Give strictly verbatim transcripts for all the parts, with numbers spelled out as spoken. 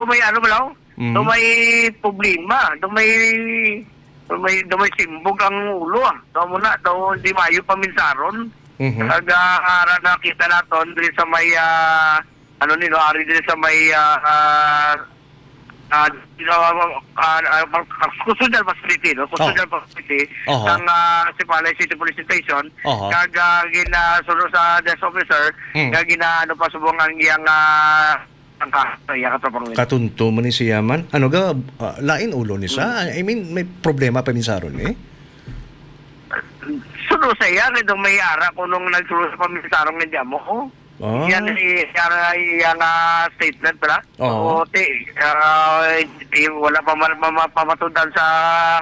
may ano ba, no? Mm. Do may problema, do may, do may, do may simbog ang ulo, ah. Do mo na, do di maayo paminsaron. Mhm. Kag, ah, ara nakita naton diri sa may, ah, ano ni, no, ari diri sa may, ah, ah, ah, ah, ah, ah, custodial facility, no? Custodial Oh. facility Oho. sang, ah, Sipalay City Police Station. Oho. Kag, ah, gina-, suno sa desk officer, Hmm. nga gina-, ano pa subong ang iyang, ah, ang kaso, iya, Katropang Win. Katunto man ni siya man. Ano ga, ah, lain ulo ni sa? Mm. I mean, may problema pa minsaron, eh? Suno sa iya, kay daw may ara ko nung nagsulo sa paminsarong nga dyan mo, oh. Ah. Yan, eh, iya nga, iya nga statement pala. Oo. So, ti, ah, eh, wala pa ma-, ma-, ma-, pamatudan sa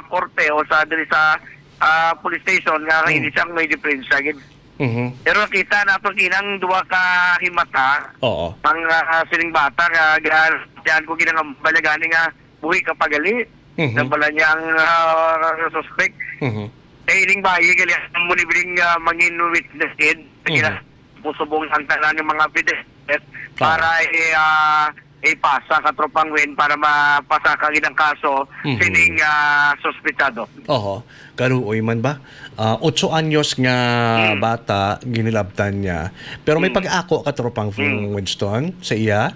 korte o sa, diri sa, ah, police station nga Hmm. hindi siya may diferensya, gid. Mhm. Pero nakita nato ginang duha ka himata Oo. ang, ah, sining bata nga ga-, diyan ko ginang balagani nga buhi ka pagali. Mhm. Nabala niya ang, ah, suspect. Mhm. Eh, ining bayi gali ang munibiling, ah, mangin witness kid. Mhm. Gina-, pusubong ang tanan ng mga bidis Ah. para, eh, ah, ipasa ka Tropang Win para mapasa ka ginang kaso Mhm. sining, ah, suspetsado. Oho. Kaluoy man ba? Ah, otso anyos nga Hmm. bata, ginilabtan niya. Pero may Hmm. pag-ako ka, Tropang Hmm. Winston, sa iya?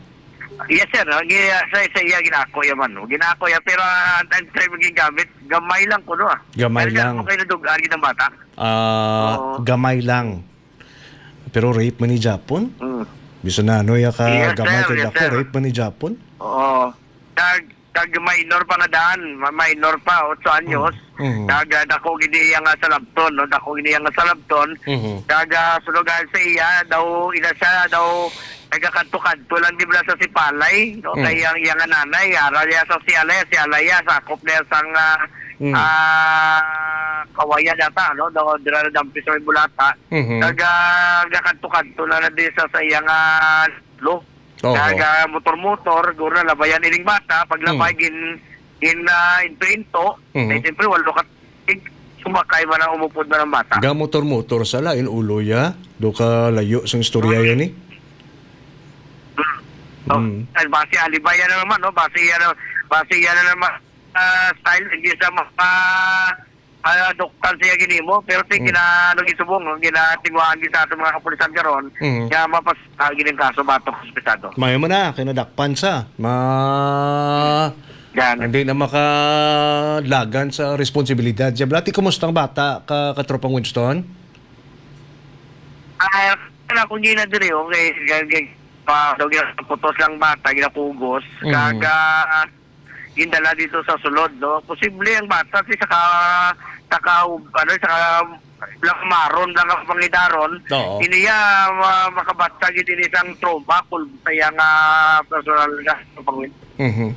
Yes, sir. No? Gi-, sa, sa iya, ginako ya man, no? Ginako ya, pero, ah, ang time, time gigamit, gamay lang kuno, ah. Gamay Pero lang. Kay nadug-an gid ang bata. Ah, Oo. gamay lang. Pero rape man ni Japon? Mm. Bisan na ano ya ka Yes, gamay sir. kay Yes, dako, sir. rape man ni Japon? Oo. Kag, kag minor pa nga daan, ma-, minor pa, otso anyos. Mm. Mm. Kag, ah, dako gid iya nga salabton, no? Dako gid iya nga salabton. Mhm. Kag, ah, sunugan sa iya, daw, ina siya, daw, nagakadto-kadto lang, di ba, sa Sipalay, no? Mm. Kay ang iya nga nanay, ara niya sa Sialay, Sialay, sakop niya sang, ah, Mm. ah, Kawayan yata, no? Daw, dira na dampi sa may Bulata. Mhm. Kag, ah, nagakadto-kadto na na di sa, sa iya nga lo. Oho. Kag, ah, motor-motor, guro na labayan ining bata, paglabay, Mm. gin-, gin-, ah, into-into. Mhm. Eh, siyempre, walo ka tig-, sumakay man ang umupod man ang bata. Ga motor-motor sa lain ulo ya, do ka layo sang istorya Mm. yan eh. Mm. Oh, Mm. ay, base alibay yan na naman, no? Base yan na, base yan na naman, ah, style, hindi sa mga, ah, doktal siya ginimo, pero ti Mm. gina-, ano, gisubong, no? Ginatinguhaan gid sa aton mga kapulisan karon Mm. nga mapas-, ah, gining kaso batok sa ospital, no? Mayo man na, kay nadakpan sa. Ma-, Yan. Hindi na makalagan sa responsibilidad. Siya, Blati, kumusta ang bata, ka-, katropang Winston? Ah, wala akong gina diri, okay. Gag-, gag-, pa, daw ginaputos lang bata, ginapugos. Mm. Kag, ah, gindala dito sa sulod, no? Posible ang bata, si saka, saka, ano, saka lang maron lang ang pangidaron. Oo. Iniya, ma-, makabatsa gid ini sang trauma, kung sa iya nga personal nga pangwin. Mhm.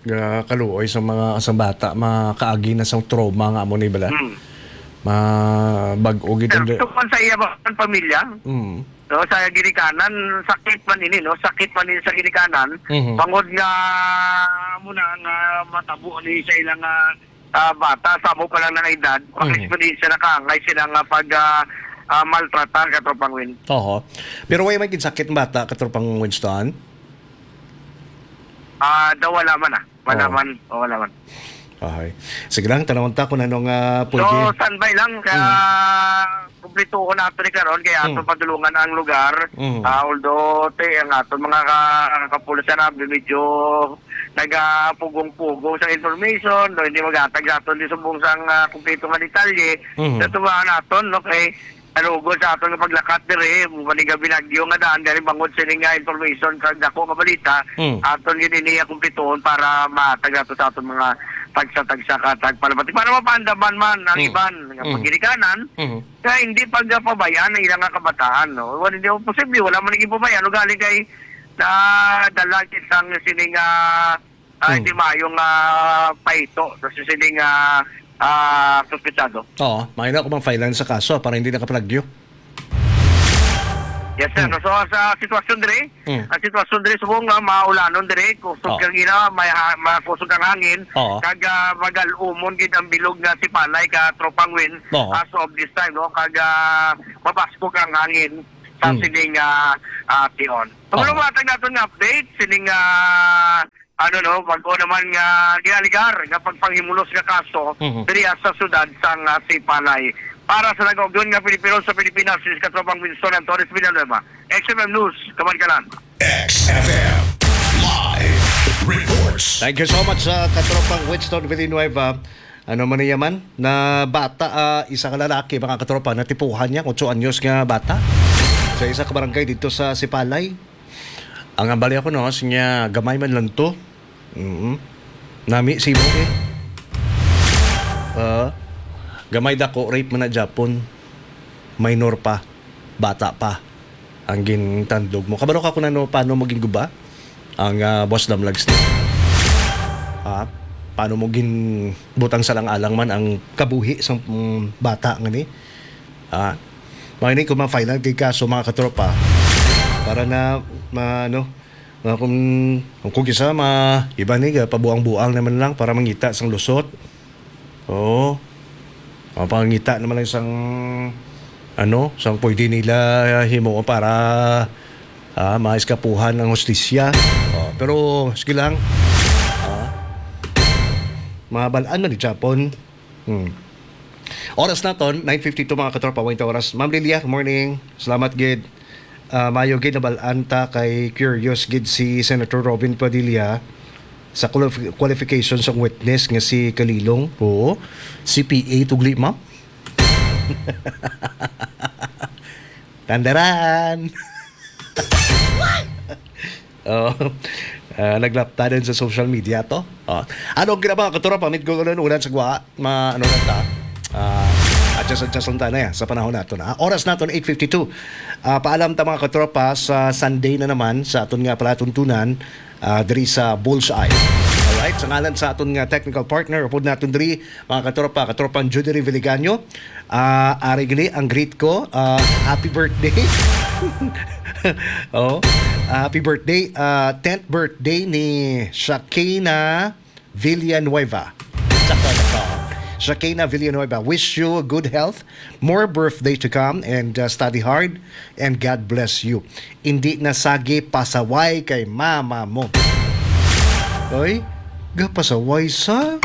Ga kaluoy sa mga, sa bata, makaagi na sa trauma nga amo ni bala. Hmm. Ma-, bag-o gid Sir, ang de- ito man sa iya ba ang pamilya? Mm. No, sa ginikanan, sakit man ini, no? Sakit man ini sa ginikanan. Mhm. Bangod nga, amo na nga matabo ni sa ilang, ah, ah, bata, sa amo pa lang nga edad, Mhm. pang-eksperyensya na kaangay sila nga pag, ah, ah, maltratar, Katropang Win. Oho. Pero way may ginsakit ang bata, Katropang Winston? Ah, daw wala man, ah. Wala Oo. man. O, wala man. Okay. Sige lang, tanawon ta kung anong, ah, So, pwede. standby lang. Ka-, Mm. kumplituhon nato ni karon, kay ato Mm. padulungan ang lugar. Mm. Ah, although, te, ang aton mga ka-, kapulisan na medyo nagapugong-pugong sa information, no, hindi maghatag sa aton di subong sang, ah, kumpleto nga detalye. Mhm. Sa tuwa naton, no, kay nalugod sa aton nga paglakat diri, maning nga binagyo nga daan, gani bangod sini nga information kag dako nga balita, Mm. aton gid ini nga kumpletuhon para mahatag nato sa aton mga tagsa-tagsa ka tagpalamati. Para mapaandaman man ang Mm. iban nga Mm. pagginikanan, Mhm. nga hindi pagpabayaan ang ilang nga kabataan, no? Wala, hindi mo posible, wala man naging pabayaan, ugali kay nadala kitang sini nga, ah, Hmm. hindi maayong, ah, pahito sa sini nga, ah, suspetsado. Oo, maayo na kung mang-filean sa kaso para hindi na kapalagyo. Yes, sir. Hmm. So, sa sitwasyon diri, Hmm. ang sitwasyon diri, subong nga maulanon diri, kusog Oo. kang ina, may ha-, makusog ang hangin, Oo. kag, ah, magal-umon gid ang bilog nga Sipalay, Katropang Win, Oo. as of this time, no? Kag, ah, mabaskog ang hangin. sa Hmm. sining, ah, ah, tion. Pero Oo. matag naton nga update, sining, ah, ano, no, bago naman nga gialigar nga pagpanghimulos nga kaso Mhm. diri sa siyudad sang, ah, Sipalay. Para sa nag-augion nga Pilipino sa Pilipinas, si Katropang Winston Antones Villanueva, X F M News, Kabankalan. X F M Live Reports. Thank you so much sa Katropang Winston Villanueva. Ano man niya man, na bata, ah, isa ka lalaki, mga katropa, natipuhan niya, otso anyos nga bata. Sa isa ka barangay dito sa Sipalay. Ang ambali ako, no, sinya, gamay man lang to. Mm. Nami si mo eh. Ah, gamay dako, rape man na Japon. Minor pa. Bata pa. Ang gintandog mo. Kabalo ka kung ano, paano mo ginguba? Ang, ah, Boss Damlag Snake. Ah, paano mo ginbutang sa lang-alang man ang kabuhi sa, mm, bata nga ni? Ah, mga ini kung ma-final kay kaso, mga katropa. Para na, ma-, ano, nga kung, kung kisa, ma-, iba ni, ah, pabuang-buang naman lang para mangita sang lusot. Oo. Mapangita naman lang sang, ano, sang pwede nila himo para, ah, maiskapuhan ang hustisya. Oh, pero, sige lang. Ah, mabalaan man ni Japon. Hmm. Oras naton, nine fifty-two, mga katropa, wait oras. Ma'am Lilia, good morning. Salamat gid. Ah, mayo gid nabalaan ta kay curious gid si Senator Robin Padilla sa qualif-, qualification sang witness nga si Kalilong. Oo. C P A tugli, ma'am. Tandaran. Oh. Ah, naglaptanan sa social media to. Oh. Ano ang ginaba, katropa? Mit ko ganun, ulan sa gwa. Ma, ano na ta? Ah, adjust, adjust lang ta na yan sa panahon nato na. Oras nato na eight fifty-two. Ah, paalam ta, mga katropa, sa Sunday na naman sa aton nga palatuntunan, ah, diri sa Bullseye. Alright, sa ngalan sa aton nga technical partner, upod naton diri, mga katropa, katropang Judy Reviligaño, ah, ari gini ang greet ko, ah, happy birthday. Oh, happy birthday, ah, tenth birthday ni Shakina Villanueva. Sakto, sakto. Shakina Villanueva, wish you good health, more birthday to come, and, uh, study hard, and God bless you. Hindi na sagi pasaway kay mama mo. Oy, gapasaway sa?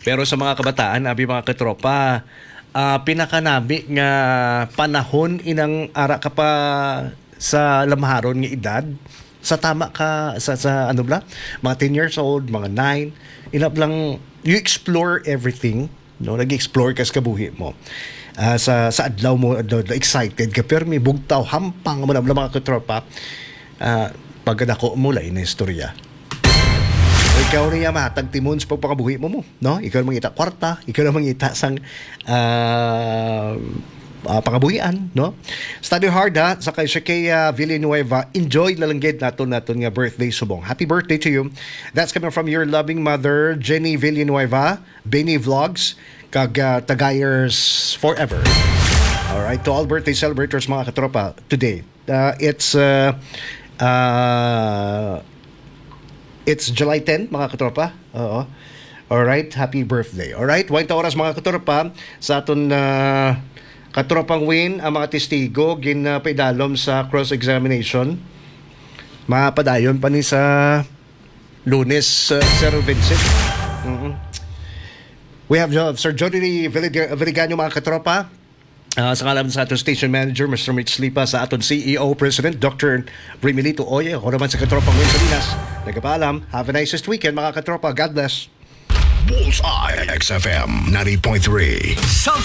Pero sa mga kabataan, abi, mga katropa, ah, pinakanami nga panahon inang ara ka pa sa lamharon nga edad, sa tama ka, sa, sa ano bla, mga ten years old, mga nine, ina lang, you explore everything, no? Nag-explore ka sa kabuhi mo. Ah, sa, sa adlaw mo, adlaw, adlaw, excited ka, pero may bugtaw, hampang mo na, mga katropa. Ah, pagkadako mo, lain na istorya. Ikaw niya mahatag timon sa pagpakabuhi mo, mo, no? Ikaw na mangita kwarta, ikaw na mangita sang, ah, ah, pangabuhian, no? Study hard, ha, sa kay Shakea Villanueva. Enjoy na lang gid naton, naton nga birthday subong. Happy birthday to you. That's coming from your loving mother, Jenny Villanueva, Benny Vlogs, kag, ah, Tagayers Forever. All right, to all birthday celebrators, mga katropa, today. Uh, it's, uh, uh, it's July ten, mga katropa. Oo. All right, happy birthday. All right, wait oras, mga katropa, sa aton, uh, katropang Win, ang mga testigo gin, uh, paidalom sa cross-examination. Mapadayon pa ni sa Lunes, uh, Sir Vincent. Mhm. We have, uh, Sir Jody Villig-, Viligaño, mga katropa. Ah, sa ngalan sa aton station manager, Mister Mitch Lipa, sa aton C E O President, Doctor Remilito Oye, ako naman sa katropang Win Salinas. Nagapaalam, have a nicest weekend, mga katropa. God bless. Bullseye, X F M ninety point three. Sa